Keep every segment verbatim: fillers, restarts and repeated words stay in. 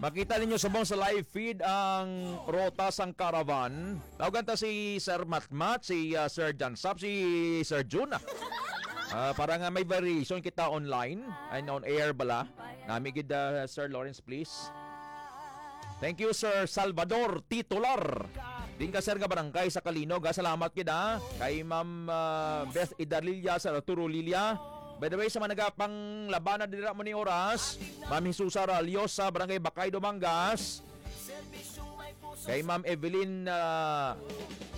Makita ninyo subong sa live feed ang rota sang caravan. Tawagan ta si Sir Matmat, si, ah, Sir Jansap, si Sir Jun, ah. Ah, para nga may variation kita online and on air bala. Nami gid, ah, Sir Lawrence, please. Thank you, Sir Salvador Titular. Din ka, sir, nga barangay sa Kalinog, ha? Salamat gid, ha? Kay Ma'am, ah, Beth Idalilla, Sir Arturo Lilia. By the way, sa mga nagapanglabanan dira mo ni oras, Ma'am Jesusa Ralio sa Barangay Bacay, Dumangas. Kay Ma'am Evelyn, ah,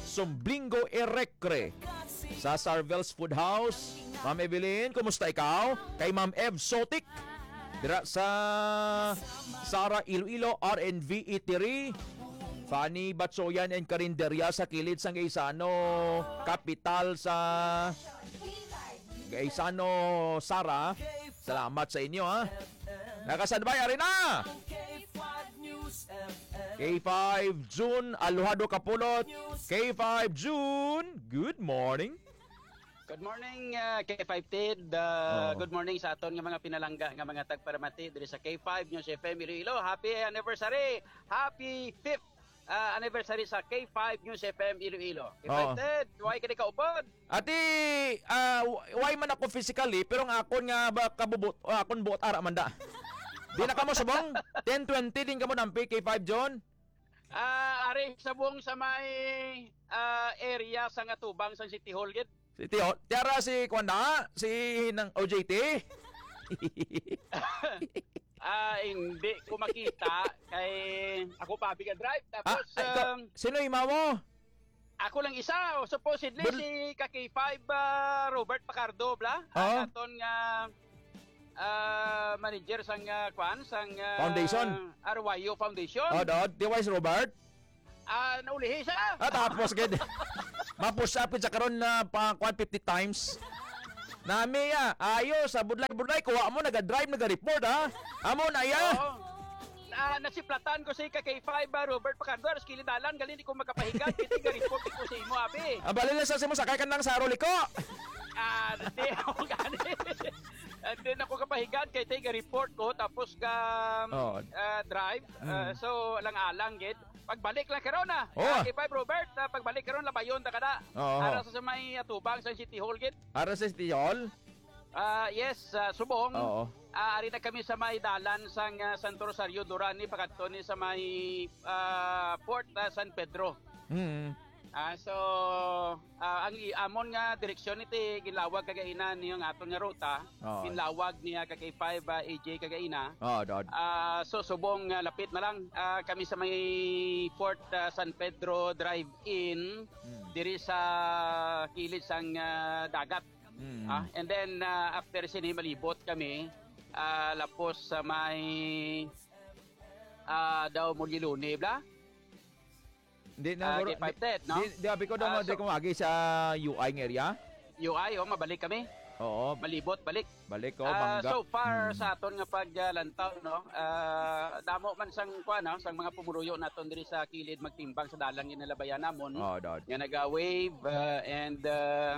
Sumblingo Erecre sa Sarvel's Food House. Ma'am Evelyn, kumusta ikaw? Kay Ma'am Ev Sotik dira sa Sara Iloilo, R N V Eatery. Fanny Batsoyan and Karinderya sa kilid sang Gaisano, kapital sa Gaisano, Sara. Salamat sa inyo, ha. Nakasadbay, ari na! K five June, Aluhado Kapulot. K five June, good morning. Good morning, uh, K five Ted. Uh, Oo. Good morning sa aton nga mga pinalangga nga mga tagparamati diri sa K five News F M Iloilo. Happy anniversary! Happy fifth, uh, anniversary sa K five News F M Iloilo. K five Oo. Ted, why ka di kaupod? Ati, ah, w-, why man ako physically, pero ang akon nga ba kabubot, o akon buot ara man da. Di na kamo subong? Ten twenty din kamo nampi, K five John? Ah, ari subong sa may, ah, area sa nga tubang sa City Hall gid. City Hall. Tiara si kuan na, si Hinang O J T. Ah, hindi ko makita kay ako pa biga drive. Ah, Tapos, ay, ikaw, um, sino imaw mo? Ako lang isa, o, supposedly Bul- si ka K five, ah, Robert Pacardo, bla? Oo. Ang aton nga, ah, manager sang, ah, kwan, sang, ah, Foundation? R Y U Foundation. Oh, dod. Di wise, Robert? Ah, naulihi siya. Ah, tapos gid. Ma-push up gid sa karon na pa kwan fifty times. Nami, ah, ayos, ah, budlay-budlay, kuha mo, naga-drive, naga-report, ha? Amo na, ya. Oo. Ah, nasiplatan ko si ka K five, ah, Robert Pacardo, aros kilid dalan, gali di ko makapahiga, kay tiga-report ko sa imo, abi. Ah, bali na sa imo, sakay ka nang saro liko. Ah, di ako gani. Ah, di na ko kapahiga, kay tiga-report ko, tapos ka, Oo. ah, drive. Ah, Mm. So, alang-alang, gid. Pagbalik lang karon, ah. Oo. Ah, K five, Robert, ah, pagbalik karon, labayon ta kada. Oo. Ara sa, sa may atubang sa City Hall, gid. Ara sa City Hall? Ah, yes, ah, subong. Oo. Ah, ari na kami sa may dalan sang, ah, Santo Rosario, Duran, ni pakadto ni sa may, ah, Port, ah, San Pedro. Mm. Ah, so, ah, ang i-, amon nga direksyon iti ginlawag kagaina niyo nga aton nga ruta, Oo. ginlawag niya ka K five, ah, A J kagaina. Oo, dod. Ah, so subong, ah, lapit na lang, ah, kami sa may Port, ah, San Pedro Drive-In, Mm. diri sa kilid sang, ah, dagat. Mm. Ah, and then, ah, after sini, malibot kami, ah, lapos sa may, ah, daw Muliluni, bla? Di na, Ah, bro, K five di, Ted, no? di, di, abi ko daw Ah, nga, di so ko agi sa U I nga area. U I, oh, mabalik kami. Oo. Malibot, balik. Balik, oh, Ah, Bangga. So far, Hmm. sa aton nga paglantaw, no? Ah, damo man sang, kuwan, no? Sang mga pumuruyo naton diri sa kilid magtimbang sa dalan nga nalabayan namon. Oo, dod. Nga naga-wave, ah, and, ah,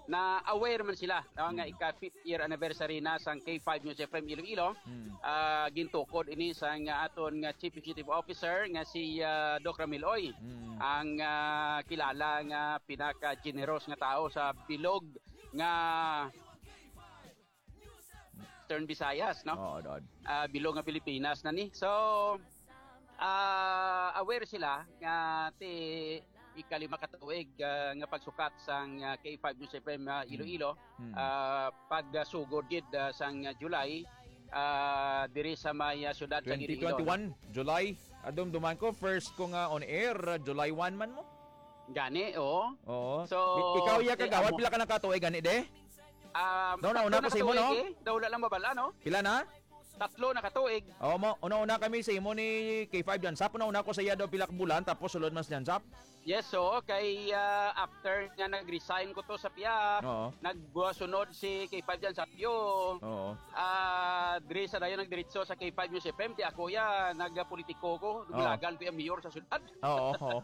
na-aware man sila, no, nga Hmm. ika-fifth year anniversary na sang K five News F M Iloilo. Hmm. Ah, gintukod ini sang aton nga Chief Executive Officer nga si, ah, Doc Ramil Oy, Hmm. ang, ah, kilala nga pinaka-generous nga tawo sa bilog nga Eastern Visayas, no? Oo, dod. Ah, bilog nga Pilipinas na ni. So, ah, aware sila nga ti ikalima ka tuig, ah, nga pagsukat sang, ah, K five News F M, ah, Hmm. Iloilo, Hmm. ah, pagsugod gid, ah, sang, ah, July, ah, diri sa may, ah, siyudad sa Iloilo, no? Twenty twenty-one, July. Adum duman ko, first ko nga on air, ah, July one man mo. Gani, oo. Oo. So, I-, ikaw, iya, eh, kagawad, amo pila ka na ka tuig gani, de? Ah, Daw na, una tatlo ko na sa imo, no? katuig, eh. Daw wala lang mabala, no? Pila na? Tatlo na katuig. Oo, mo, una-una kami sa imo ni K five Jansap. Una-una ko sa iya daw pila ka bulan, tapos sulod mas Jansap. Yes, so, kay, ah, after nga nag-resign ko to sa piya, Oo. nagsunod si K five Jansap yo. Oo. Ah, diri sa dayon nagdiretso sa K five News F M, ti ako ya, nagpolitiko ko, Oo. naglagan ko yung mayor sa syudad. Oo, oo.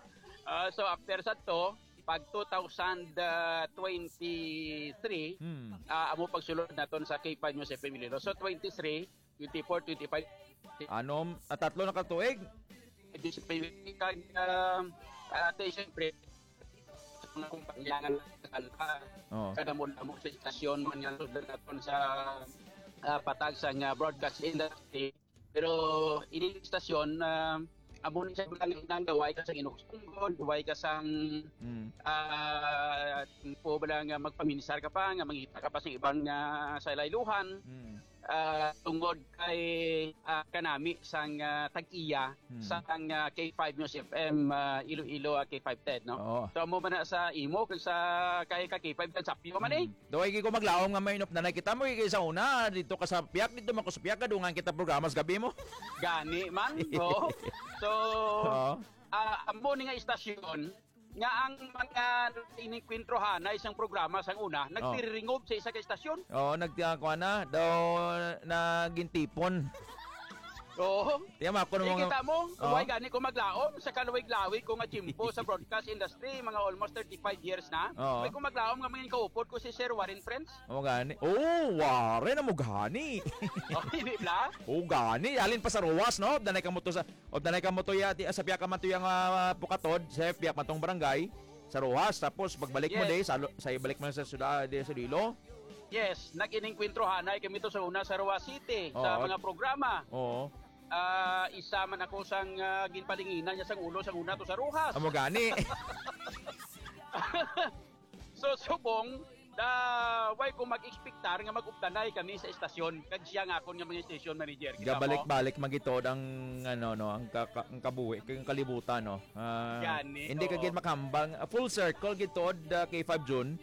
Ah, so, after sa to, pag two thousand twenty-three, Hmm. ah, amo pagsulod naton sa K five News F M Iloilo. So, twenty-three, twenty-four, twenty-five, Ano, ah, tatlo na ka tuig? Disability kag, ah, ah, ate, siyempre, sa mga kumpanya nga nagkakanta, Oh. kadamo-damo sa istasyon man nga sudlan naton sa, ah, patag sa nga broadcast industry. Pero ini istasyon, ah, amo ni siya lang inang gaway ka sa inugsungod, gaway ka sang, Mm. ah, po ba lang nga magpaminsar ka pa, nga mangita ka pa sa ibang, ah, sa layluhan. Mm. Ah, tungod kay, ah, kanami sang, ah, tag-iya Hmm. sang, ah, K five News F M, ah, Iloilo, ah, K five Ted, no? Oo. So, amo man na sa imo, kag sa kay ka K five Ted, sapyo man eh. Hmm. Daw, ay, ko maglaom nga may inupdanay kita mo, ikay sa una, dito ka sa piyak, dito man ko sa piyak, kadungan kita programa sa gabi mo. Gani man, oo. So, Oo. ah, amo ni nga istasyon, nga ang mga ininkwentro hanay sang programa sang una, Oh. nagtiriringog sa isa ka istasyon. Oo, nagtiyakuha na. Daw nagintipon. Oo. Tiyan mo, ako nung mga Ikita mo, Oh. way gani ko maglaom sa kalawig-lawig ko nga tiyempo sa broadcast industry, mga almost thirty-five years na. Oo. Way ko maglaom nga mangin kaupod ko si Sir Warren Friends. Oh, gani. Oh, Warren, amo gani. Oh, hindi bla? Oh, gani. Alin pa sa Ruwas, no? Danay ka mo to sa O danay ka mo tuya, ti, sa piyak ka man tuya nga, ah, pukatod, sa piyak man tong barangay, sa Roxas, tapos pagbalik mo Yes. di, sa, lo- sa ibalik mo na sa sula-, di, sa Iloilo. Yes, nag-inengkwentro hanay kami to sa una sa Roxas City, sa Oo. mga programa. Oo. Ah, isa man ako sang, ah, ginpalinginan niya sang ulo sang una to sa Roxas. Amo gani. So, subong, da, way ko mag-expectar nga mag-updanay kami sa estasyon, kag siya nga akon nga mga station manager. Kita mo? Gabalik-balik magitod ang, ano, no, ang ka-, ka-, ang kabuhi, ang kalibutan, no? Ah, Gani, hindi ka oo. gid makahambal. Ah, full circle gitod, ah, K five June.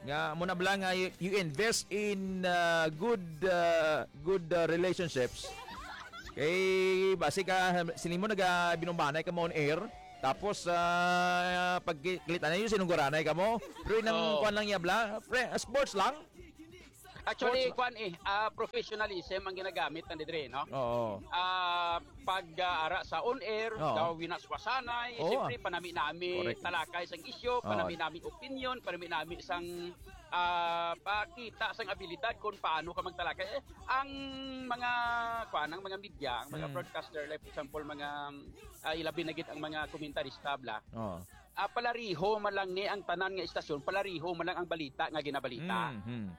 Nga, muna bala nga, you, you invest in, ah, good, ah, good, ah, relationships. Kay, basi ka, sila mo naga-, binumbanay ka mo on air. Tapos, ah, pagkilita na yun, sinungguranay ka mo. Pero inang Oo. kuwan lang niya, bla. Pre, ah, sports lang. Actually, Sports lang. kuwan eh, ah, professionalism ang ginagamit na didre, no? Oo. Ah, pag, ah, ara sa on air, Oo. daw winaswasanay, Oo. siyempre, panami-nami, Correct. talakay sang isyu, Oo. panami-nami opinion, panami-nami sang, ah, pakita sang abilidad kung paano ka magtalakay. Eh, ang mga, kuwan, ang mga media, ang mga Mm. broadcaster, like, for example, mga, ah, ilabi na gid ang mga komentarista, bla. Oo. Ah, palariho man lang ni ang tanan nga istasyon, palariho man lang ang balita nga ginabalita. Mm, mm.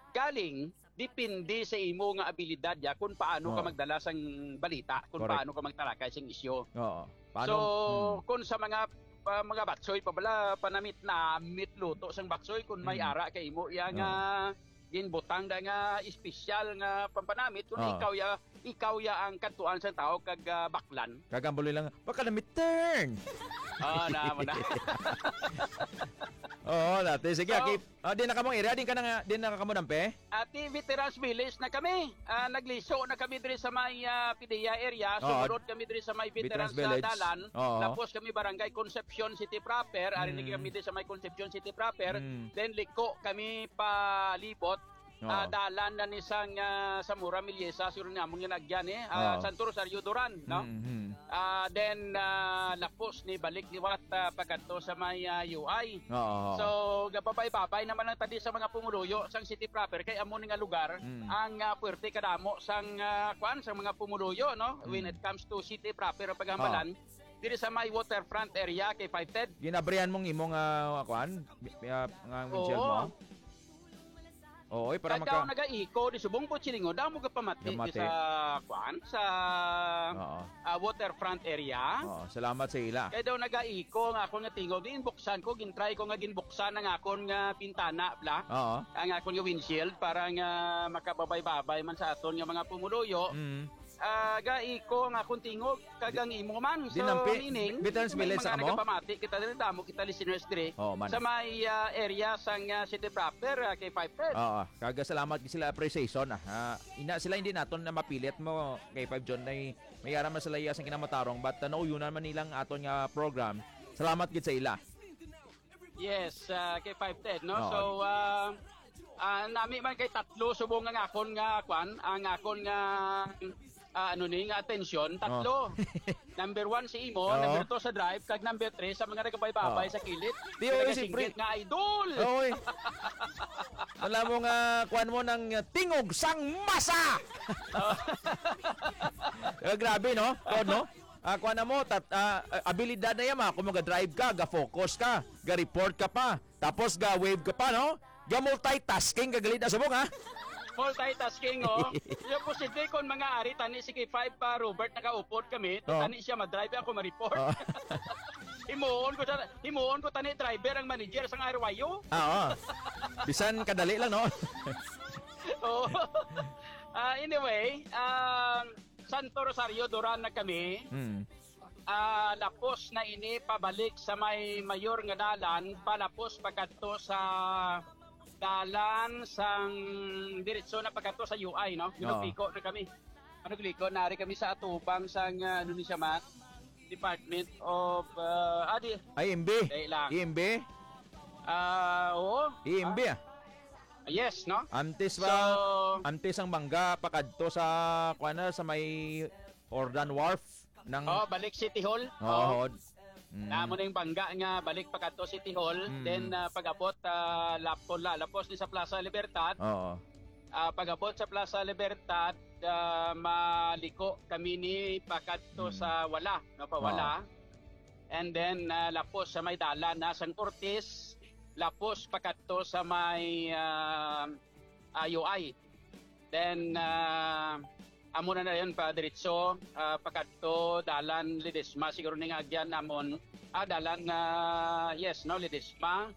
Galing, depende sa imo nga abilidad ya kung paano ka Oo. magdala sang balita, kung Correct. paano ka magtalakay sang isyu. Oo. Paano? So, Hmm. kung sa mga, ah, mga batsoy pa bala, panamit-namit luto sang batsoy, kung may Hmm. ara kay imo ya nga Oo. ginbutang da nga espesyal nga pampanamit, kung Oo. ikaw ya, ikaw ya ang kadtuan sang tao kag, ah, baklan. Kagambuloy lang, "Baka na mi turn." Oo, na mo na. Oo, dati. Sige, So, aki-, ah, di na kamong area, di ka na nga, di na ka mo nampe? Ati, Veterans Village na kami. Ah, nagliso na kami diri sa may, ah, Pidea area. Oo. Sumunod kami diri sa may Veterans Veterans, ah, Village. Dalan. Oo. Tapos kami Barangay Concepcion City proper. Ari na Mm. kami diri sa may Concepcion City proper. Mm. Then liko kami palibot. Oo. Ah, dalan na ni sang, ah, Zamora Meliesa, siguro ni among ginagyan eh. Ah, Oo. Santo Rosario Duran, no? Mm-hmm. Ah, then, ah, lapos ni balik liwat, ah, pagadto sa may, ah, U I. Oo. So, gababay-babay naman lang tadi sa mga pumuluyo sang city proper kay amo ni nga lugar Mm. ang, ah, puwerte kadamo sang, ah, kwan, sang mga pumuluyo, no? When Mm. it comes to city proper ang paghambalan, Oo. diri sa may waterfront area kay Five Ted. Ginabrihan mong imong, ah, kwan, bi-, ah, nga windshield Oo. mo? Oo, eh, para Kag daw maka- nagaiko, di subong po silingon, daw mo gapamati Gamati. sa, kuan, sa, Oo. ah, waterfront area. Oo, salamat sa ila. Kay daw nagaiko nga akon nga tingog, di inbuksan ko, gintry ko nga ginbuksan ang akon nga bintana, bla. Oo. Ang akon nga windshield para nga makababay-babay man sa aton nga mga pumuluyo. Mm. Ah, gaiko ang akon tingog, kag ang imo man. Di So, nampi, meaning, Veterans may Village mga sa amo? nagapamati kita diri, damo kita listeners diri. Oo, man. Sa may, ah, area sang, ah, city proper, ah, kay Five Ted. Oo, kag salamat gid sila appreciation, ah. Ah, ina sila hindi naton na mapilit mo kay Five John na may ara man sila iya sang kinamatarong, but, ah, nauyonan man nilang aton nga program. Salamat gid sa ila. Yes, ah, kay Five Ted, no? Oo. So, ah, ah, nami man kay tatlo subong ang akon nga, kwan, ang akon nga, ah, ano ni nga atensyon, tatlo. Number one si imo, Oo. number two sa drive, kag number three sa mga nagabaybabay Oo. sa kilid. Di, Nga oo, nagasinggit siyempre. nga idol. Oo, eh. Wala mo nga, kuwan mo ng, uh, tingog sang masa! Oh. Eh, grabe, no? Kuwan, no? Ah, kuwan na mo, tat-, ah, abilidad na yan, ma. Kung mag-drive ka, ga-focus ka, ga-report ka pa, tapos ga-wave ka pa, no? Ga-multitasking ka, galit na subong, ha? Multitasking, oh. Yung posible kung mga ari, tani, sige, five pa, Robert, nakaupod kami, Oh. tani siya madrive, ako ma-report. Oh. Himuon ko sa, himuon ko, tani, driver ang manager sang R Y U. Ah, oo. Bisan kadali lang, no? Oo. Ah, anyway, um, Santo Rosario, Duran na kami. Mm. Ah, lapos na ini pabalik sa may mayor nga dalan, palapos pakadto sa dalan sang diretso na pakadto sa U I, no? Oo. Ginugliko na kami. Ano, gliko, nari kami sa atubang sang, ah, ano ni siya, man? Department of, ah, ah, di, I M B. Dali lang. I M B? Ah, oo. I M B, Ah, ah. Yes, no? Antes pa, So, antes ang bangga, pakadto sa, kuwan na, sa may Jordan Wharf ng Oh, balik City Hall. Oo. Oo. Mm. Namo ning bangga nga balik pakadto City Hall. Mm. Then, ah, pag-abot, ah, lapos la-, lapos ni sa Plaza Libertad. Oo. Ah, pag-abot sa Plaza Libertad, ah, maliko kami ni pakadto Mm. sa Wala, no, pa Wala. Oo. And then, ah, lapos sa may dalan na sang Ortiz, lapos pakadto sa may, ah, ah, U I. Then, ah, amo na na yun, pa diretso, ah, pakadto, dalan Ledesma, siguro ni nga agyan, amon, ah, dalan, ah, yes, no, Ledesma.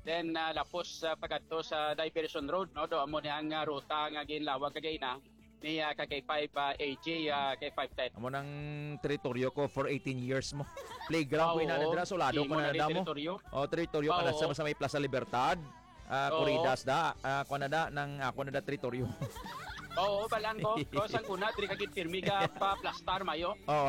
Then, ah, lapos, ah, pakadto sa Diversion Road, no, do amo ni ang, ah, ruta nga ginlawag kagina ni, ah, ka K five, ah, A J, ah, K five ten. Amo nang teritoryo ko for eighteen years mo. Playground ko ina Oo, dira, sulado ko imo na na damo. Teritoryo. Oh, teritoryo ka na Oo. sa, sa may Plaza Libertad. Ah, Oo. Corridas da, ah, kuwan na da, nang ako na da teritoryo. Oo, balaan ko. Ko sang una, diri ka gid pirmi ka pa plastar, mayo. Oo.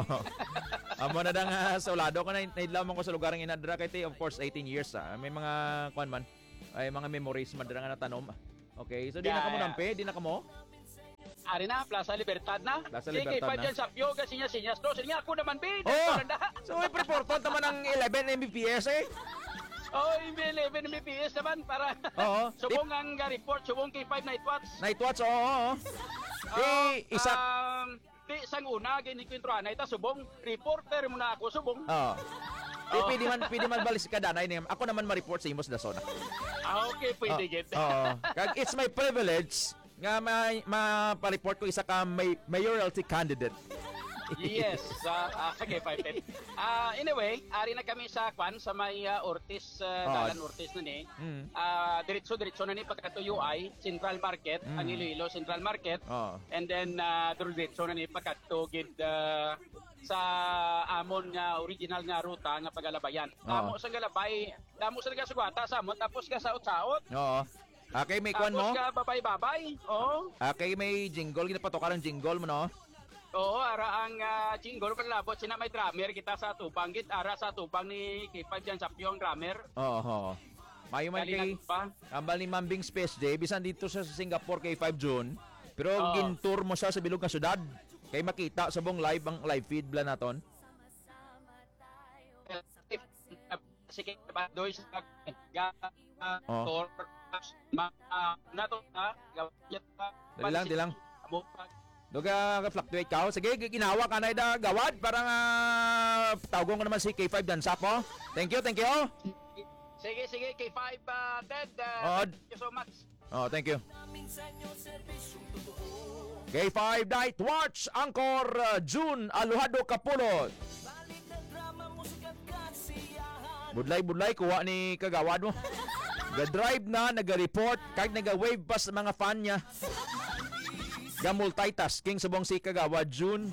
Amo na da nga, sa ulado ko na, naidlaw man ko sa lugar nga inadra kay ti, of course, eighteen years, ah. May mga, kuwan man, ay mga memories man dira nga natanom. Okay, so di na kamo Yeah. nampi, di na kamo? Ari na, Plaza Libertad na. Plaza Sige, Libertad pa na. dyan sa Pio, kasi niya, sinyas to. Sige, ako naman, bida, Oh! parang da. So, may pre-portal naman ang eleven M B P S eh. Oh, yung eleven M B P S naman para Oo. subong Di- ang, uh, report, subong K five Night Watch. Night Watch, oo, oo. Oh, Eh, isa um, di sang una, ginikwentro anay ta, subong, reporter muna ako, subong. Oo. Di, Oh. pwede man, pwede man balis ka, danay niya. Ako naman ma-report sa imos, dason. Ah, okay, pwede, Oh, gid. oo. Kag it's my privilege nga may, ma-report ko isa ka may, mayoralty candidate. Yes, ah, ah, okay, fine, fine. Ah, anyway, ari na kami sa kwan, sa may, ah, Ortiz, ah, Oh. Dalan Ortiz na ni. Mm. Ah, diretso-diretso na ni pagkadto U I, Central Market, Mm. ang Iloilo Central Market. Oh. And then, ah, diretso na ni pagkadto gid, ah, sa amon nga original nga ruta nga pagalabayan. Oh. Damo sa galabay, damo sa nagasugata sa amon, tapos ka saot-saot. Oo. Ah, kay may kwan Tapos mo? ka babay-babay. Oo. Ah, kay may jingle, ginapatoka ng jingle mo, no? Oo, ara ang, ah, jingle, malabot sina may drummer kita sa tubang, git ara sa tubang ni K five dyan sa Pio ang drummer. Oo, oo. Mayo man Dali kay lang pa. Ambal ni Mambing Space J, bisan dito sa Singapore kay five June, pero Oo. gin-tour mo siya sa bilog nga syudad. Kay makita sa buong live ang live feed bla naton. Sige, Bandoy sa ga-, Oh. tour, ma-, ah, nato na, ga-, Dali lang, dali lang. Amo pa. Duga ka fluctuate ka. Sige, gi-, ginawa ka na ida, gawad. Para nga, tawgon ko naman si K five Dansap, oh. Thank you, thank you. Sige, sige, K five, ah, Ted, ah, Oh. thank you so much. Oh, thank you. K five Night Watch, Angkor, uh, June, Aluhado Kapulot. Budlay-budlay, kuha ni kagawad mo. Ga-drive na, naga-report, kag naga-wave pa sa mga fan niya. Ga-multitasking subong si kagawad June.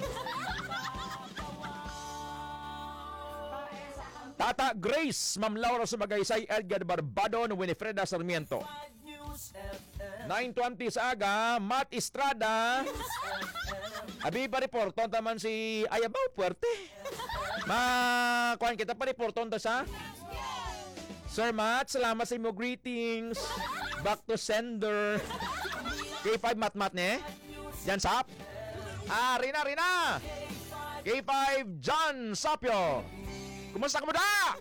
Tata Grace, Ma'am Laura Sumagaysay, Edgar Barbadon, Winifreda Sarmiento. Nine twenty sa aga, Matt Estrada. Abi, pa-reporton taman si Ayabaw, puwerte. Ma, kuwan kita, pa-reporton ta sa Sir Matt, salamat sa imo greetings. Back to sender. K five Matt Matt, ne? Yan, sap. Ah, Rina, Rina! K five John Sapio! Kumusta ka mo da?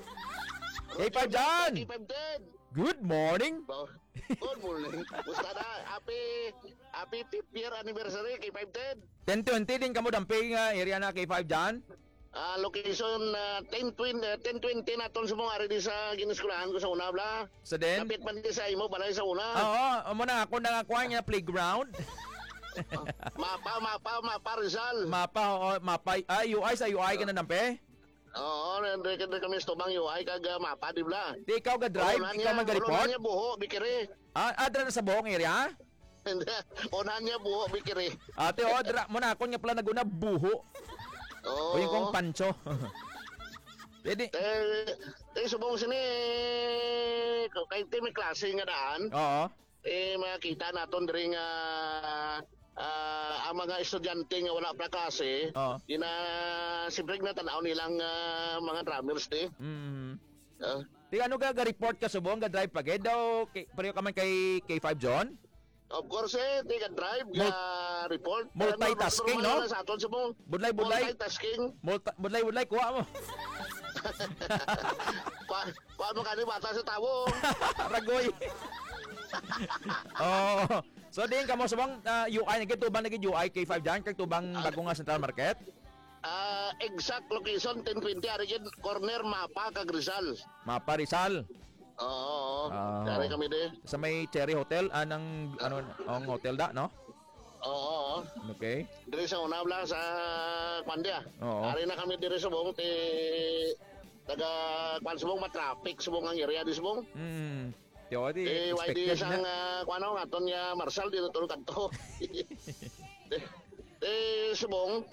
K five John! K five Ted! Good morning! Ba- Good morning! Musta na? Happy, happy fifth year anniversary, K five Ted! Ten twenty din kamo damping, ah, area na, K five John? Ah, location, ah, ten twenty, ah, ten twenty naton sa mga ari di sa gineskwelahan ko sa una, bla. Sa den? Kapit man di sa imo, balay sa una. Oo, amo na ako na kuha nga playground. Mapa, mapa, mapa, Rizal. Mapa, oo, mapa. Ah, U I, sa U I ka na, nampe? Oo, nandre, nandre kami sa tubang U I kag, ah, mapa, di bla? Di ikaw ga-drive? Ikaw man ga-report? Niya buho, bikiri. Ah, adra na sa buhong area? Hindi. Unahan niya buho, bikiri. Ate, oh, dra, mo na akon nga pala naguna buho. Oo. O yung kong pancho. Pwede. Eh, eh, subong sini, kay ti may klase nga daan. Oo. Eh, makita naton diri nga, ah, ang mga estudyante nga wala pa klase, Oo. Ina, siyempre, natan-aw nilang, ah, mga drummers, di? Mm. Ah. Di ano ga, ga-report ka subong, ga-drive pa gid daw, kay, pareho ka man kay K five John? Of course, eh, di ga-drive, Mul-, ga-report. Multitasking, Normal no? Na sa aton sa mo. Budlay, budlay. Multitasking. Multa-, budlay, budlay, kuha mo. Pa, pa mo kani bata sa tawo. Ragoy. Oh. So, diin kamo subong, ah, U I, nagtubang na gid U I, K five dyan, kag tubang Ah. bago nga Central Market? Ah, exact location, ten twenty, ari gid, corner Mapa kag Rizal. Mapa, Rizal. Oo, oo. Ah, Dari oo. Kami di. Sa may Cherry Hotel, ah, nang, ano, ang hotel da, no? Oo, oo. Okay. Diri sa una lang sa Kwandia. Oo. Ari na kami diri sa buong ti taga kwan subong matraffic subong ang area di subong. Mm. Yo, di Eh, why di expected sang, na. Ah, kwan, ano, aton nga Marshall, di na to kadto. Eh, subong,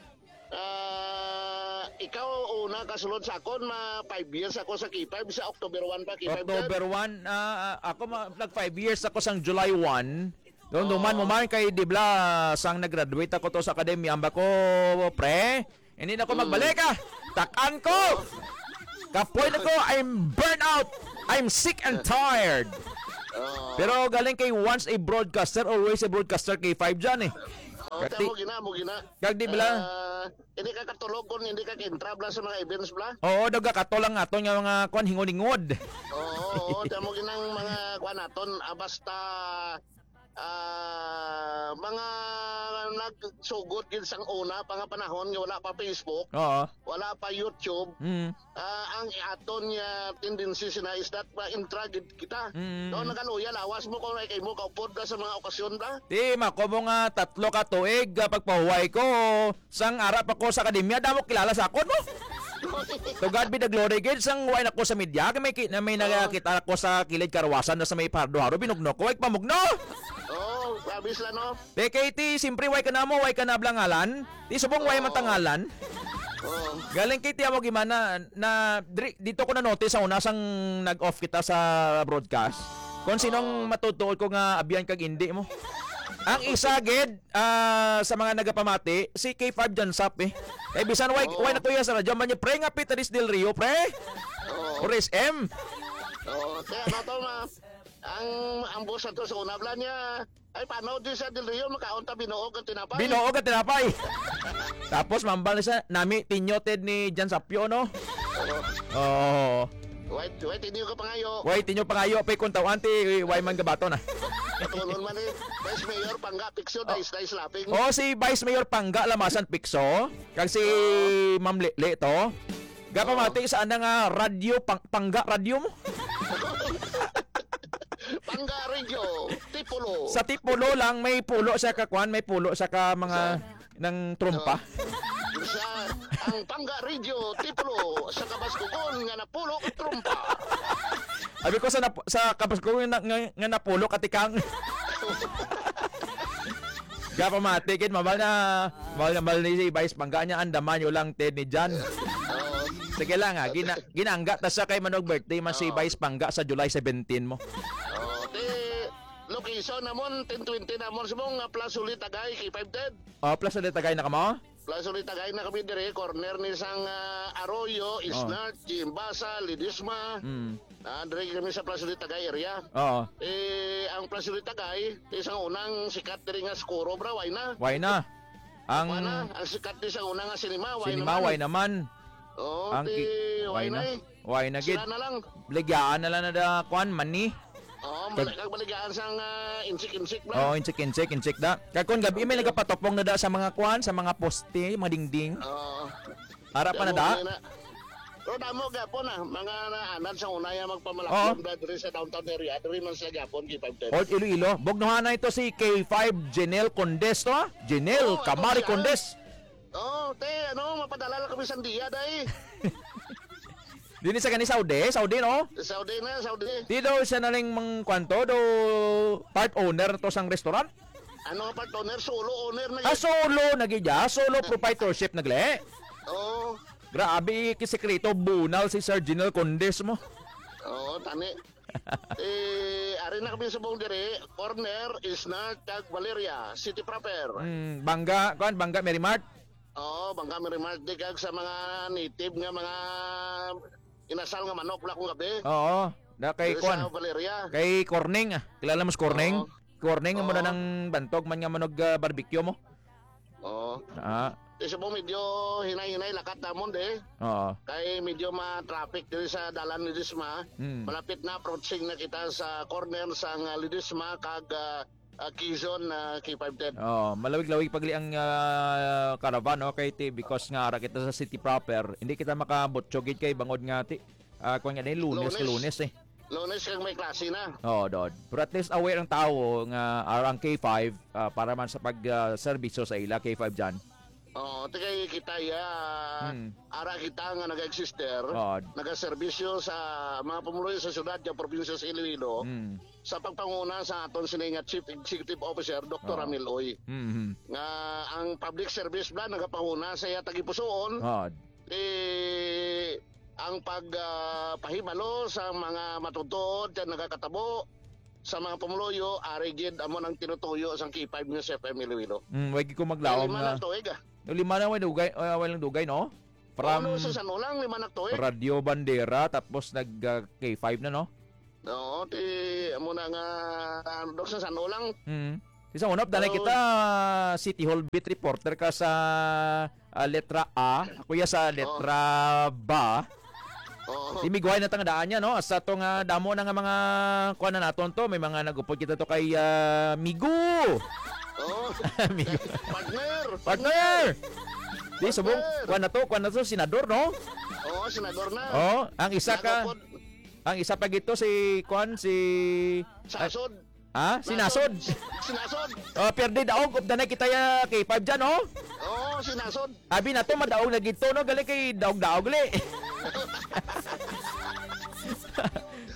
ah, ikaw una kasulod sa akon, ma five years ako sa K five, sa October one pa, K five October one, ah, ah, ako ma-, nag five years ako sang July one. Doon, duman mo Oo. man kay, di bla, sang nag-graduate ako to sa akademya, amba ko, pre, hindi na ako Mm. magbalik, ah. Takan ko! Kapoy na ko, I'm burnt out. I'm sick and tired. Oo. Pero galing kay once a broadcaster, always a broadcaster, K five dyan, eh. Oo, Kati- tamo gina, mo gina. Kag di bala? Ah, hindi ka katulog kung hindi ka kintra bla sa mga events bla. Oo, daw gakato lang aton nga mga kwan, hingod-hingod. Oo, oo, tamo ginang mga kwan naton, ah, basta, ah, mga nagsugod gid sang una pa nga panahon nga wala pa Facebook, Oo. wala pa YouTube, Mm. ah, ang aton nga tendency sina is that ma-intra gid kita. Mm. No, nagaluya lawas mo kung ay kay mo kaupod ka sa mga okasyon ba? Di, mako mo nga tatlo ka tuig, ah, pagpahuway ko, sang ara pa ko sa akademya, damo kilala sa akon mo. To God be the glory, gid, sang way na ko sa media, kay may ki-, na may Oo. nakita ko sa kilid karwasan na sa may Pardo Haro, binugno ko, ay pamugno! Oo, grabe sila, no? Te, kay ti, simpre, way ka na mo, way ka na blangalan. Ti, subong way Oo. matangalan. Oo. Galing kay ti, amo gimana, na, dri-, dito ko na-notice sa una, sang nag-off kita sa broadcast. Kung sinong Oo. matutuol ko nga abyan kag indi mo. Ang isa, gid, ah, sa mga nagapamati, si K five Jansap, eh. Kay bisan way, Oo. way na tuya sa radyo, man niya, pre, nga Pitaris Del Rio, pre. Oo. Or S M. Oo. Kaya ano to, ma-, ang, ang boss ato sa una, bla niya, ay, paano di sa Del Rio, makaon ta binuog ang tinapay? Binuog ang tinapay. Tapos, mambal na siya, nami, tinyoted ni Jan Sapyo, no? Oo. Oo. Wait, wait, hindi ko pangayo. Wait, inyo pangayo, pe, kung tawante, way man gabato na. Katulon man eh. Vice Mayor, Pangga, Picture, Oh. Dais, Dais, Laping. Oh, si Vice Mayor Pangga, Lamasan, Picso. Kag si Oo. Ma'am Lele to. Gapamati Oo. sa ana nga radyo, pang-, Pangga, radyo mo. Pangga Radio, Tipulo. Sa Tipulo lang, may pulo siya ka kwan, may pulo siya ka mga Sa ng trompa. Oh. Sa ang Pangga Radio, Tipulo, sa Kabaskugon nga napulo ka trompa. Abi ko sa nap-, sa Kabaskugon nga, nga, nga napulo ka tikang. Gapamati, kid, mabal na, mabal na, mabal ni si Vice Pangga niya, andaman nyo lang, Ted ni Jan. Oo. Sige lang, ha, gina-, ginangga ta siya kay manog birthday man si Oo. Vice Pangga sa July seventeen mo. Oo, ti, location namon, ten twenty namon, sa mong, ah, Plaza Ulit, Tagay, K five Ted. Oh, Plaza Ulit, Tagay na ka mo? Plaza Ulit, Tagay na kami dire, corner ni sang, ah, Arroyo, Oh. Isnart, Jimbasa, Ledesma. Mm. Ah, dire kami sa Plaza Ulit, Tagay area. Oo. Eh, ang Plaza Ulit, Tagay, isang unang sikat dire nga Skuro, bro, why na? Why na? Ang Kuan na, ang sikat ni sa una nga sinima, why sinima, naman? Why naman? Oo, Ang ti-, ki-, why why na? na eh? Why na gid? Sila na lang. Baligyahan na lang na da, kuan, mani. Oo, Kag- balik, kag baligaan sang, ah, insik-insik na. Oo, insik-insik, insik da. Kag kun gabi may Okay. nagapatupong na da sa mga kuan, sa mga poste, mga dingding. Oo. Ara pa na Damo da? na. Pero damo gyapon, ah, mga naanad sa una yung magpamalakyong Oo. da diri sa downtown area, diri man sila gyapon, K five ten. Old Iloilo. Bugnuhan na ito si K five Janelle Condes to, ah. Janelle Oo, Kamari ito siya. Condes. Oo, te, ano, mapadala lang kami sa India, day. Dili sa gani Saudi, Saudi, no? Saudi na, Saudi. Di daw siya na lang mang kwanto, do part owner to sang restaurant? Ano nga part owner? Solo owner na Ah, yun. solo na gid ya. Solo proprietorship na gali. Oo. Grabe, kisikreto, bunal si Sir General Condes mo. Oo, tani. Eh, ari na kami subong diri, corner, Isnart, kag Valeria, city proper. Mm, Bangga, kuan, Bangga, Merry Mart. Oo, Bangga, Merry Mart, di kag sa mga native nga mga inasal nga manok la kung gabi. Oo, na kay Diri kuan. sa Valeria. Kay Corning, ah. Kilala mo si Corning? Oo. Corning, amo na Oo. nang bantog man nga manog, ah, barbecue mo. Oo. Ah. Isa po medyo hinay-hinay lakat namon, de. Oo. Kay medyo ma-traffic diri sa dalan ni Disma. Hmm. Malapit na, approaching na kita sa corner sang, ah, Ledesma kag, ah, ah, Quezon, ah, K five ten. Oo, malawig-lawig pagli ang, ah, caravan, no? Kay ti, because nga ara kita sa city proper, hindi kita makabutyog gid kay bangod nga ti, ah, kung nga din, Lunes, Lunes. Lunes eh. Lunes kag may klase na. Oo, Dod. Pero at least aware ang tao nga ara ang K five, ah, para man sa pag, ah, serbisyo sa ila, K five dyan. Oo, ti kay kita ya, Hmm. ara kita nga nag-exister, Oo. nagaserbisyo sa mga pumuluyo sa syudad, sa probinsya sa Iloilo, Hmm. sa pagpanguna sa aton sini nga Chief Executive Officer, Doktor Oo. Ramil Uy, Hmm. nga ang public service ba nagapanguna sa iya tagipusoon, Oo. eh, ang pag, ah, pahibalo sa mga matutuod nga nagakatabo sa mga pumuluyo, ari gid amo nang tinutuyo sang K five News F M Iloilo. Mm, wag ko maglaom Lima na. na tuig, ah. No, lima na, way dugay, ah, way lang dugay, no? From Ano sa San Ulang, lima na tuig? Radio Bandera, tapos nag, ah, K five na, no? Oo, ti, amo na nga, ah, dok sa San Ulang. Mm. Sa una, danay Oo. kita, City Hall beat reporter ka sa, ah, letra A. Ako ya sa Oo. letra ba. Oo. Di migway na tang daan niya, no? Sa to nga damo na nga mga kuan na naton to, may mga nagupod kita to kay, ah, Migo. Oo. Migo. Partner. Partner! Di, subong, Partner. kuan na to, kuan na to, senador, no? Oo, senador na. Oh, ang isa ka, Nagupod. ang isa pa gito si, kuan, si, Sasod. Ha? Sinasod. Sinasod. Oh, pierde daog, updanay kita ya K five dyan, oh. Oo, sinasod. Abi na to, madaog na gito, no? Gali kay daog-daog, gali.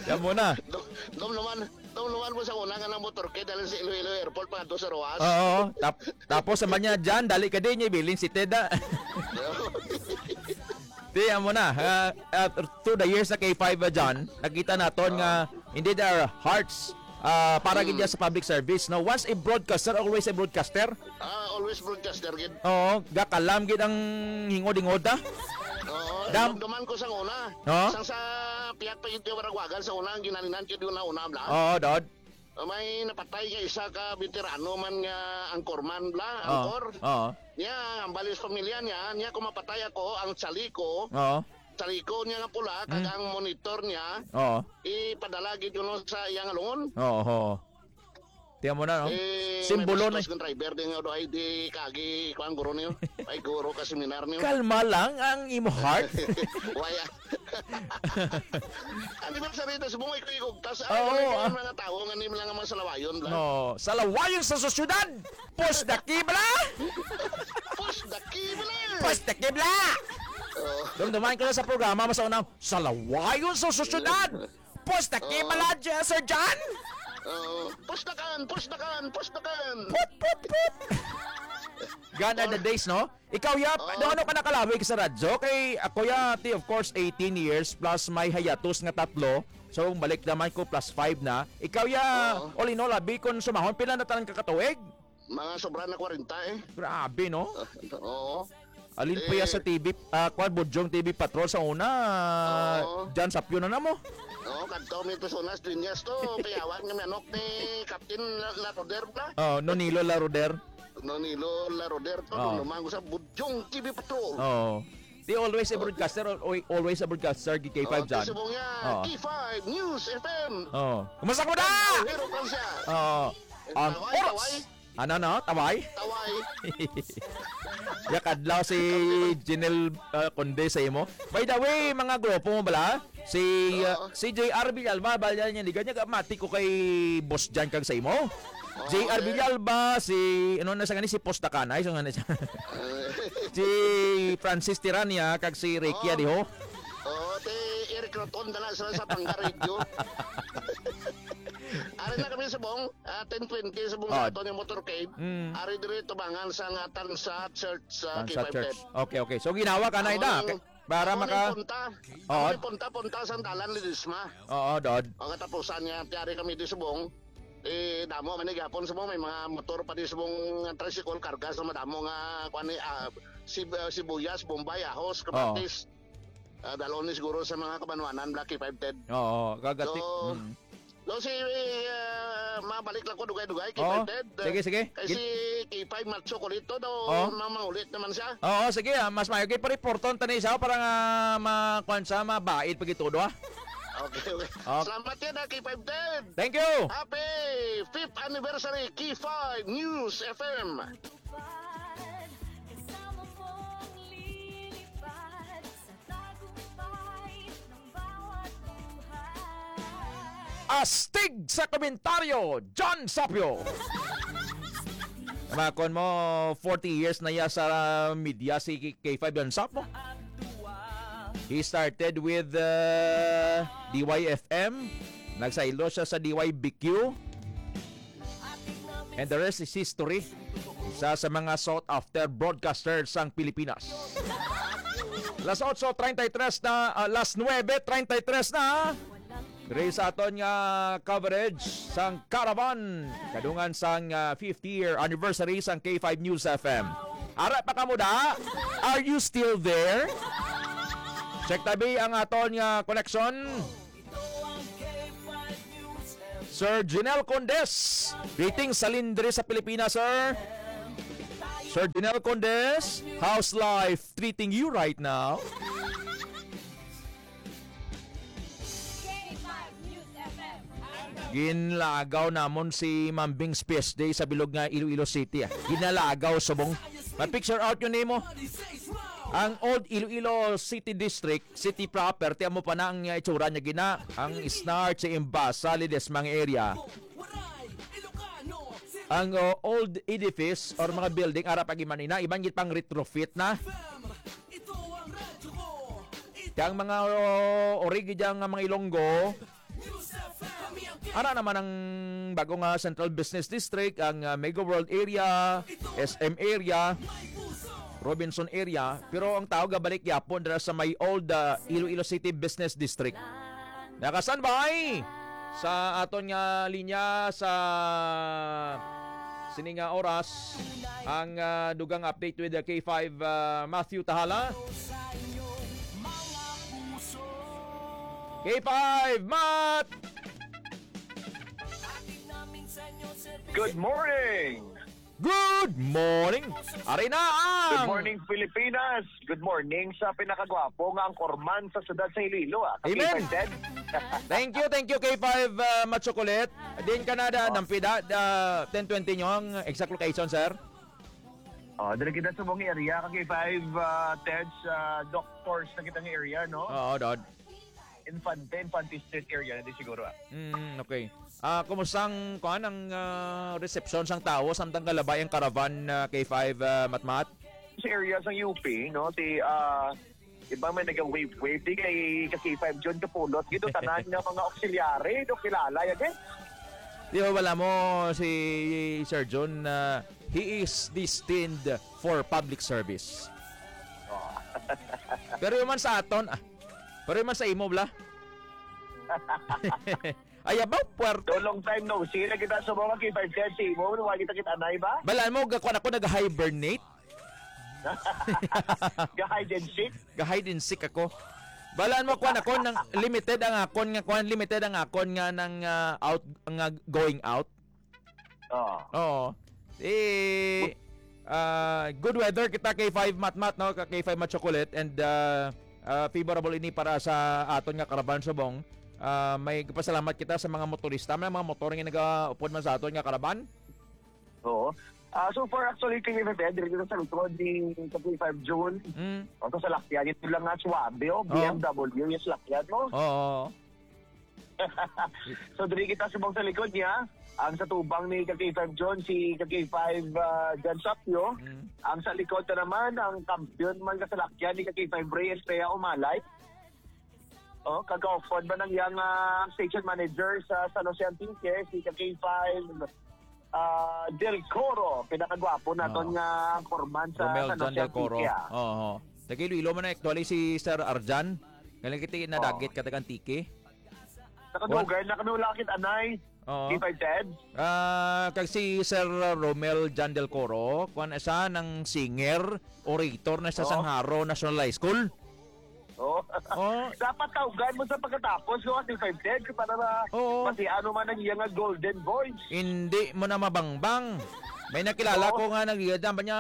Yan muna. Dom, dom naman, dom naman mo sa una nga ng motorcade, dahil sa Iloilo Airport, pangadto sa Roas. Oo, tap-, tapos sa manya dyan, dali ka din, yung bilin si Ted, ah. Ti, amo na, ah, ah, through the years na K five, ah, John, nakita naton nga, indeed, our hearts, ah, para gid Hmm. yan sa public service, no? Once a broadcaster, always a broadcaster. Ah, always broadcaster gid. Oo, gakalam gid ang hingod-hingod, ah. Oo, Dam- dumduman ko sa una. Oo. Sang sa pihak pa yung tiwaragwagan sa una, ang ginalinan ko yung una-una, bla. Oo, Dod. May napatay nga isa ka veterano man nga anchorman, bla, Oo. anchor. Oo. Niya, ang balis pamilya niya, niya kung mapatay ako, ang tsali ko, Oo. tsali ko niya nga pula, kag Mm. ang monitor niya, Oo. ipadala gid kuno sa iyang lungon. Oo, oo. Tiyan mo na, no? Eh, Simbolo may na. bastos ng driver din nga, do, ay di kagi, kuan, guro niyo. Ay, guro ka seminar niyo. Kalma lang ang imo heart. Why, ah? Ano ba sa rito? Subong ikaw igugtas. Ay, Oo, ano yung ah. mga tao nga ni mga, mga salawayon, bla? No, salawayon sa sosyedad! Pos daki, bla! Pos daki, bla! Pos daki, bla! Oo. Dumduman ko na sa programa, mas una, salawayon sa sosyedad! Pos daki, Oo. bla, J-, Sir John! Oo. Pustakan! Pustakan! Pustakan! Put, put, put! Gone are the days, no? Ikaw, ya, Oo. ano, ano ka nakalawig sa radyo? Kay ako, ya, ti, of course, eighteen years plus may hayatos nga tatlo. So, balik naman ko, plus five na. Ikaw, ya, Oo. all in all, abi, kung sumahon, pila na tanan ka katuig? Mga sobra na kwarenta, eh. Grabe, no? Oo. Alin pa ya Eh. sa T V, ah, kwan, Budyong T V Patrol sa una, Oo. John Sapyo na na mo. Oo, kadto mi to sa una, Dueñas to, payawan nga manok ni Captain La-, Laroder, bla. Oh, Nonilo Laroder. Nonilo La Roder to, Oh. Nonong Mango sa Budyong T V Patrol. Oh. Di always a Oh. broadcaster, al-, always a broadcaster, G K five Oh, dyan. Subong niya, Oh. G five News F M. Oh. Kumusta ka, Muda? Ang Hero Francia. Oh. Ang Taway, oras. Taway. Ano, no? Taway? Taway. Yakadlaw si Jinel, uh, Conde sa imo. By the way, mga grupo mo bala? Si, uh, Oo. si J R Villalba, bala niya, liga niya, mati ko kay Boss Jan kag sa imo. Oo, J R okay. Villalba, si, ano na sa gani, si Post Dakanay, so nga na siya. Eh. Si Francis Tirania, kag si Ricky Oo. Adiho. Oo, ti Eric Roton, dala sa, sa Pangga Radio. Ari na kami subong, ah, ten twenty subong Oh. sa aton yung motorcade. Mm. Ari diri tubangan sa nga Tansa Church sa Tansa K five Church. Ten. Okay, okay. So, ginawa ka na, Amo Ida. ang, Para amo maka- ang punta. Oo. Amo ang punta, punta sa dalan Ledesma. Oo, Dod. O katapusan niya, tiyari kami di subong. Eh, damo man ni gapon subong, may mga motor pa di subong, tricycle, karga sa madamo nga, kuwan ni, ah, sib-, ah, sibuyas, bombay, ahos, Oo. kamatis. Ah, dalon ni siguro sa mga kabanwanan, Black K five ten. Oo, kagati. So, Mm. so, si, ah, mabalik lang ko, dugay-dugay, Oo. K five ten. Sige, sige. Kay Gin- si K five Macho Kulito daw, Oo. mamangulit naman siya. Oo, sige, ah, mas maayo kay pa-reporton tani siya para nga ma-, kuwan siya, mabaid pag itudo, ah. Okay, okay. Okay. Salamat yan, ah, K five ten. Thank you. Happy fifth anniversary, K five News F M. Tupad, kasama mong lilipad sa tagumpay ng bawat buhay. Astig sa komentaryo, John Sapio. Makon mo, forty years na ya sa media si K five John Sapio. He started with, uh, D Y F M. Nagsaylo siya sa D Y B Q. And the rest is history. Isa sa mga sought after broadcasters sang Pilipinas. Las otso treinta y tres na, ah, las nuebe treinta y tres na. Diri sa aton nga coverage sang Caravan, kadungan sang, ah, fifty year anniversary sang K five News F M. Ara pa kamo da? Are you still there? Check tabi ang aton nga connection. Sir Junel Condes, greetings sa Lindre sa Pilipinas, sir. Sir Junel Condes, how's life treating you right now? K five News F M. Ginlagaw namon si Mambing Space Day sa bilog nga Iloilo City, ah. Ginalagaw subong. Ma-picture out yun nimo. Ang old Iloilo City District, city proper, ti amo pa na ang, uh, itsura niya gina. Ang Snart, si Imbasa, Ledesma nga area. Ang, uh, old edifice or mga building, ara pa gimanina, iban gid pang retrofit na. Kaya ang mga, uh, origi dyan nga mga Ilonggo, ara naman ang bago nga Central Business District, ang, uh, Mega World area, S M area, Robinson area, pero ang tao gabalik gyapon dira sa may old, uh, Iloilo City Business District. Naka-standby sa aton nga linya sa sini nga oras ang, uh, dugang update with the K five, uh, Matthew Tahala. K five, Mat! Good morning! Good morning! Ari na ang Good morning, Pilipinas! Good morning sa pinakagwapo nga anchorman sa siyudad sa Iloilo, ah. Amen. Kapitbahay Ted. Thank you, thank you, K five, uh, Machocolate. Din Canada, Oh. Nampida, uh, ten twenty nyo ang exact location, sir? Oh, dili kita sa mong area, ka K five, uh, Ted, sa doctors na kitang area, no? Oo, Dod. Infante, Infante Street area na di siguro, ah. Mm, okay. Ah, kumusta ang, kuan, ang, ah, resepsyon sang tawo samtang galabay ang caravan, ah, K five, ah, Matmat? Sa area sang U P, no, ti, ah, iba may naga-wave-wave, di kay ka K five John Kapulot, gito tanan nga mga auxiliary, do kilala, ya, di? Di ba, wala mo si Sir John, ah, he is destined for public service. Oh. Pero yung man sa aton, ah, pero yung man sa imo, bla? Ay, abaw, puwerto. So, long time no see na kita sa mga K five ten, si mo, wala kita kita anay ba? Balaan mo, ga-, kuwan ako, nag-hibernate. Ga-hide and seek? Ga-hide and seek ako. Balaan mo, kuwan ako, nang limited ang akon nga, kuwan, limited ang akon nga nang, ah, out, nga going out. Oo. Oo. Eh, ah, good weather kita, K five Matmat, no? Ka K five Matchocolate, and, ah, ah, favorable ini para sa aton nga karaban subong. Ah, may pasalamat kita sa mga motorista, may mga motor nga nagaupod man sa aton nga karaban. Oo. Ah, so far, actually, kay F F N, diri kita sa likod ni K five June. Mm. O, sa salakyan, ito lang nga suwabe, oh, Oh. B M W yung salakyan mo. Oo. So, diri kita subong sa likod niya. Ang sa tubang ni K five June, si K five, ah, John Sapio. Mm. Ang sa likod na naman, ang kampiyon man kasalakyan ni K five Reyes Pea Umalay. Oh, kagaupod ba nang yang, ah, station manager sa San Jose Antique, si K five, ah, Del Coro, pinakagwapo naton Oo. nga foreman sa Romel San John Jose Del Coro. Antique, ah. Oo. Taga Iloilo man na actually si Sir Arjan. Galing kita Oo. nadagit ka taga Antique. Nakadugay na kami wala kit anay. Oo. K five Ted? Ah, kag si Sir Romel John Del Coro, kuwan siya ng singer, orator na sa Oo. Sangharo National High School. Oh. Oh. Dapat tawgan mo sa pagkatapos, no, K five Ted, para ma-, Oo. masiano man ang iya nga golden voice. Hindi mo na mabangbang. May nakilala Oo. ko nga nagigada ba niya,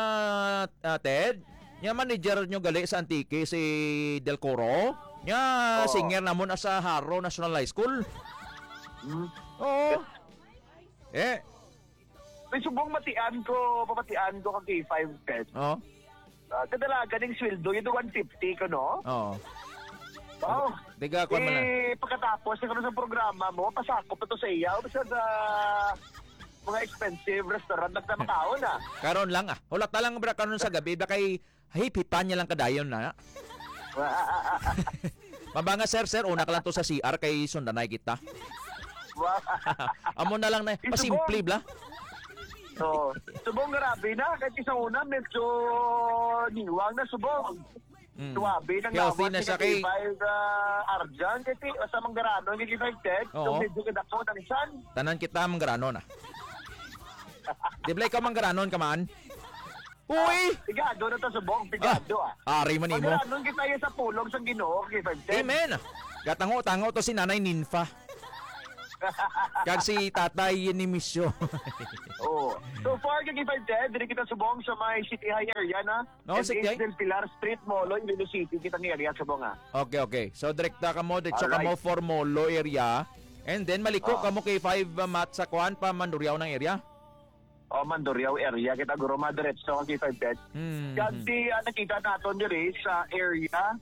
ah, Ted? Niya manager nyo gali sa Antique, si Del Coro. Niya Oo. singer namon sa Haro National High School. Hmm. Oo. Eh. May subong matian ko, papatian ko kag K five Ted. Oo. Ah, kadalagan ning sweldo, yun, one fifty ko, no? Oo. Wow. Tiga, kuwan man na. Eh, pagkatapos, yung ano sa programa mo, pasakop na to sa iya. O, basta sa mga expensive restaurant, nagtamakaon, ah. Karon lang, ah. Hulat na lang, bra, karon sa gabi, bra, kay hip-hipan niya lang kadayon na. Mabanga, sir, sir, una ka lang to sa C R kay sundanay kita. Wow. Amo na lang na, Ito pasimple po. bla. So, subong grabe na, kahit isang una, medyo niwang na subong. Mm. Suwabe nang Healthy lawas na ni siya kay Katibay, ah, Arjan, kasi sa manggaranon ni Katibay Ted, Oo. so medyo kadako ng san. Tanan kita manggaranon, ah. Di bala ikaw manggaranon ka man? Uy! Pigado na to subong, pigado, ah. Ah, ari man imo. Manggaranon kita iya sa pulong sang Ginoo, Katibay Ted. Amen. Gatango-tango to si Nanay Ninfa. Kag si Tatay Nimisyo. Oo. So far, Katibay Ted, diri kita subong sa may City High area na. No, M H sige. Del Pilar Street, Molo, Iloilo City, kita nga area subong, ah. Okay, okay. So, direkta ka mo, diretso ka Alright. mo for Molo area. And then, maliko Oh. ka mo K five, uh, Mat, sa kuan pa, Mandurriao ng area? Oh, Mandurriao area. Kita guro madiretso ang K five Ted. Hmm, Kag hmm. di, ah, nakita naton diri sa area,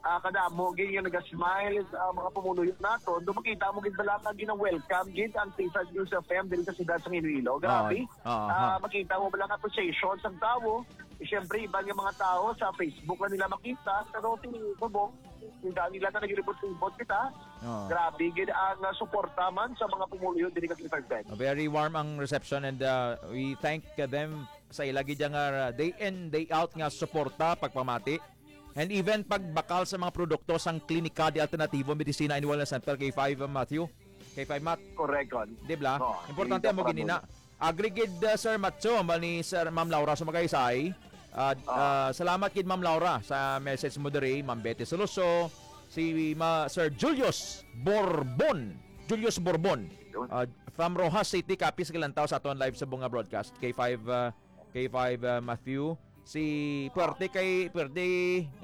ah, kadamo gid nga naga-smile, ah, mga pumuluyo naton. Do makita mo gid bala nga gina-welcome gid ang K five News F M diri sa siyudad sa Iloilo. Grabe. Oo, oo, Ah, ha. makita mo bala ang appreciation sa tawo. Siyempre, iban nga mga tawo sa Facebook na nila makita, pero ti-, subong, hindi nila na naglibot-libot kita. Oo. Grabe gid ang, ah, suporta man sa mga pumuluyo diri kag K five Ted. Very warm ang reception and, uh, we thank them sa ila gid nga, uh, day in, day out nga suporta, pagpamati. And even pagbakal sa mga produkto sang Klinika de Alternativo Medicina and Wellness Center, K five, uh, Matthew, K five Mat. Correct, Con. Di bla? Oo, Importante dito mo para ginina. mo. Agree gid, uh, Sir Matthew, hambal ni Sir, Ma'am Laura sa Magaysay. Ah, Ah. ah, salamat gid, Ma'am Laura, sa message mo diri, Ma'am Betty Soloso, si Ma-, Sir Julius Borbon. Julius Borbon. Yun. Ah, from Roxas City, Capiz, Kalantaw sa aton live sa bunga broadcast. K five, ah, K five, ah, Matthew. Si Puerte kay, Puerte,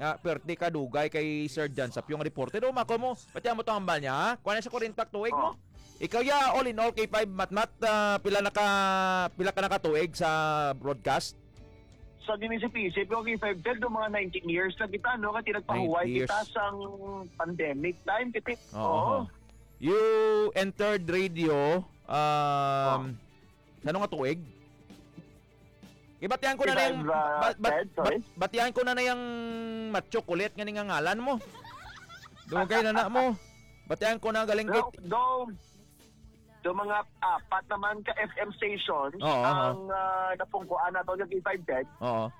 ah, Puerte Kadugay kay Sir John Sapyong reporter. O, mako mo, pati mo to hambal niya, ha? Kuha na sa kurintak tuig mo. Oh. Ikaw ya, all in all, K five Matmat, ah, pila na ka, pila ka nakatuig sa broadcast? Sa ginisip-isip ko, K five Ted, do mga nineteen years na kita, no? Kati nagpahuway Nine years. kita sang pandemic time, kiti. Oo. Oo. You entered radio, um, Oh. sa ano nga tuig? Ibatihan ko na na yung, K five, ah, ba-, ba-, Ted, sorry? bat-, batihan ko na na yung Matchocolate nga ning ngalan mo. Dugay na na mo. Batihan ko na galing kay Do, do, do mga apat naman ka F M stations Oo, oo. ang, ah, napungkuan nato yung K five Ted. Oo.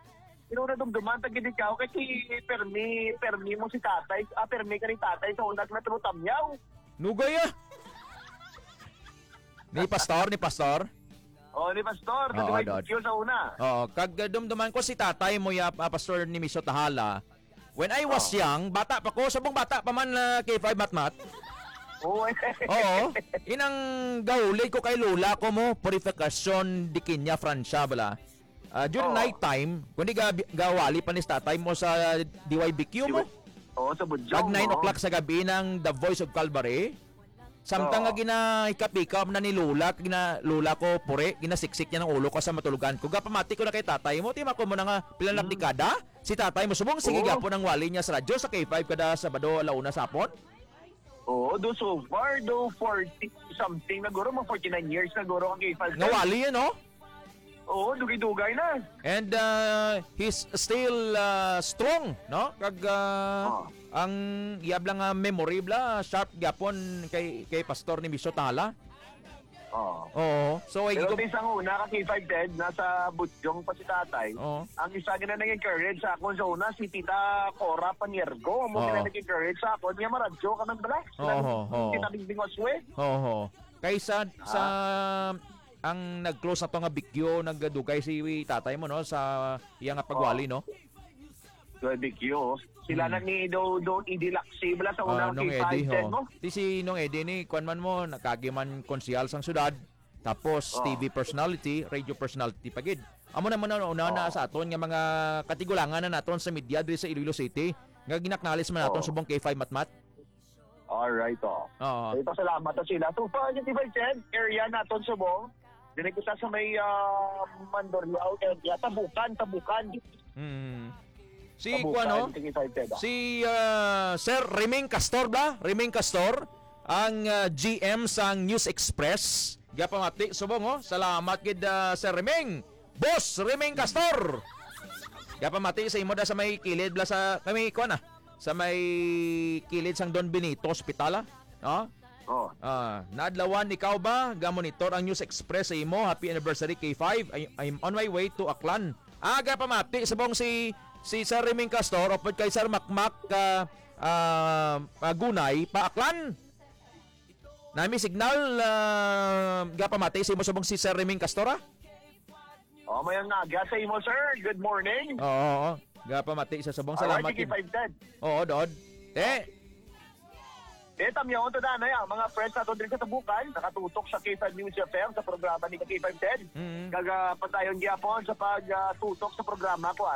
Pero nadumduman ta gid ikaw kay si Permi, Permi mo si tatay, ah, Permi ka ni tatay sa unag na tulo tamyaw. Nugay, ah. Ni Pastor, ni Pastor? Oh, ni Pastor, Oo, nag-ride Dod. yun sa una. Oo, kag, uh, dumduman ko si tatay mo ya, ah, Pastor ni Miso Tahala. When I was Oh. young, bata pa ko, subong bata pa man, ah, K five Matmat. Oo, eh. Oo. Inang gahulid ko kay lola ko mo, Purificacion de Quiña, Francia, bala. Ah, during Oo. night time, kundi ga, gawali pa ni tatay mo sa D Y B Q mo. Oo, sa Budjong, Pag nine oo. o'clock sa gabi ng The Voice of Calvary, samtang Oo. nga ginahikap-hikap na ni Lola, gina, Lola ko puri, ginasiksik niya ng ulo ko sa matulugan ko. Gapamati ko na kay tatay mo, tima ko mo na nga pila na Mm. dekada. Si tatay mo subong, sige Oo. gapon ang wali niya sa radyo sa K five kada Sabado, alauna sa hapon. Oo, do so far, do forty something na guro, mga forty-nine years na guro ang K five. Nga wali yun, no? Oo, dugay-dugay na. And, uh, he's still, uh, strong, no? Kag, uh, Oo. ang iyab lang nga memory bla, sharp gyapon kay, kay Pastor ni Miso Tala. Oo. Oo. So, ay Pero gigom- ti sang una ka K five, Ted, nasa Budjong pa si tatay. Oo. Ang isa gina nag-encourage sa akon sa una, si Tita Cora Paniergo. Amo Oo. gina nag-encourage sa akon, nga maradyo ka man bala. Oo, oo. Tita Bingbing Oswe. Oo. Kaysa sa, Ah. ang nag-close na to nga bikyo, nagdugay si tatay mo, no, sa iya nga pagwali, Oo. no? Grabe, Q. Sila Hmm. na ni do, do, Eddie Laxi, bala sa Ah, unang Nong Eddie, K five ten ho. mo. Ti si Nong Eddie ni, kwan man mo, nakagi man konsehal sang syudad, tapos Oh. T V personality, radio personality pa gid. Amo na man ang una na Oh. sa aton nga mga katigulangan na naton sa media diri sa Iloilo City, nga ginaknalis man naton Oh. subong K five Matmat. Alright, oh. Oo. Ay, pasalamat na sila. So, pa, yung T five ten, area naton subong. Dili kita sa may, ah, Mandurriao area. Tabukan, Tabukan. Mm. Si Tabukan, kuan, no? T five ten, ah. Si, ah, Sir Reming Castor ba? Reming Castor, ang, ah, G M sang News Express. Gapamati, subong, oh. Salamat gid, ah, Sir Reming. Boss Reming Castor. Gapamati sa imo da sa may kilid bla sa, kami, kuan, ah, sa may kilid sang Don Benito Hospital, ah. No? Oh. Ah, naadlawan ikaw ba? Gamonitor ang News Express sa imo. Happy anniversary, K five. I, I'm on my way to Aklan. Ah, gapamati subong si, si Sir Reming Castor, upod kay Sir Makmak, ah, ah, ah, Gunay, pa Aklan. Nami signal, ah, gapamati sa imo subong si Sir Reming Castor, ah? Oh, may ang aga sa imo, sir. Good morning. Oo, oo. Gapamati sa subong. Alright, salamat sige, yun. Five ten. Oo, Dod. Te. Eh, tamyaon to, Danay, ang mga friends nato diri sa Tabukan, nakatutok sa K five News F M sa programa ni K five ten. Mm. Kaga padayon gyapon sa pag, ah, tutok sa programa ko, ah.